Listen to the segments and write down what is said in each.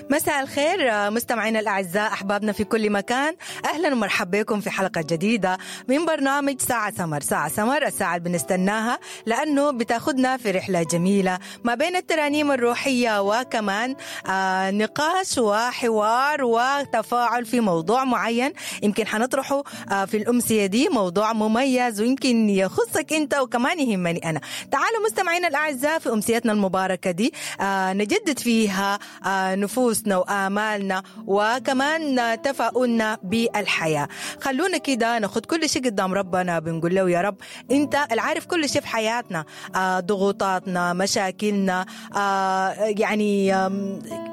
مساء الخير مستمعينا الأعزاء، أحبابنا في كل مكان، أهلا ومرحبا بكم في حلقة جديدة من برنامج ساعة سمر. ساعة سمر، الساعة اللي بنستناها لأنه بتاخدنا في رحلة جميلة ما بين الترانيم الروحية وكمان نقاش وحوار وتفاعل في موضوع معين يمكن حنطرحه في الأمسية دي، موضوع مميز ويمكن يخصك أنت وكمان يهمني أنا. تعالوا مستمعينا الأعزاء في أمسيتنا المباركة دي نجدد فيها نفوسنا وآمالنا وكمان تفاؤلنا بالحياة. خلونا كده ناخد كل شيء قدام ربنا، بنقول له يا رب انت العارف كل شيء في حياتنا، ضغوطاتنا، مشاكلنا، يعني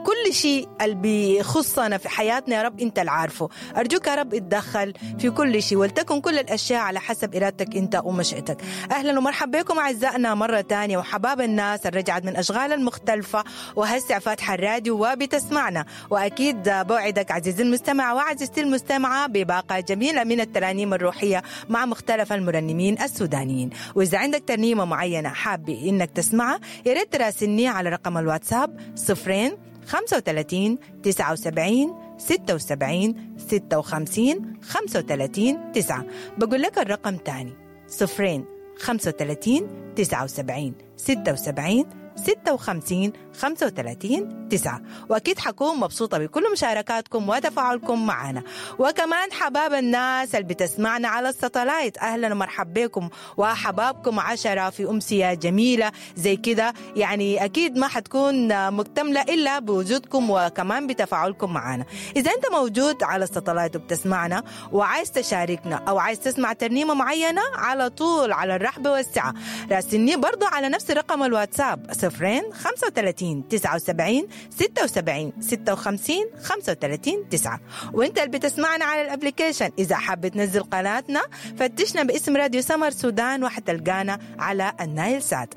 كل شيء اللي بيخصنا في حياتنا يا رب انت العارفه. ارجوك يا رب اتدخل في كل شيء، ولتكن كل الاشياء على حسب ارادتك انت ومشيئتك. اهلا ومرحبا بكم اعزائنا مره ثانيه، وحباب الناس اللي رجعت من اشغال المختلفه وهسه فاتحه الراديو وبتسمعنا. واكيد بوعدك عزيزي المستمع وعزيزتي المستمعه بباقه جميله من الترانيم الروحيه مع مختلف المرنمين السودانيين. واذا عندك ترنيمه معينه حابه انك تسمعها يا ريت تراسلني على رقم الواتساب 0 35 79 76 56 35 9. بقول لك الرقم تاني 0 35 79 76 56 35 9. وأكيد حكون مبسوطة بكل مشاركاتكم وتفاعلكم معنا. وكمان حباب الناس اللي بتسمعنا على الستلايت، أهلا ومرحبا بكم وحبابكم 10 في أمسية جميلة زي كده، يعني أكيد ما حتكون مكتملة إلا بوجودكم وكمان بتفاعلكم معنا. إذا أنت موجود على الستلايت وبتسمعنا وعايز تشاركنا أو عايز تسمع ترنيمة معينة، على طول على الرحب والسعة راسلني برضو على نفس رقم الواتساب 0 35 79 76 56 35 9. وانت اللي بتسمعنا على ال application اذا حابب تنزل قناتنا فتشنا باسم راديو سمر سودان وحتلقانا على النايل سات.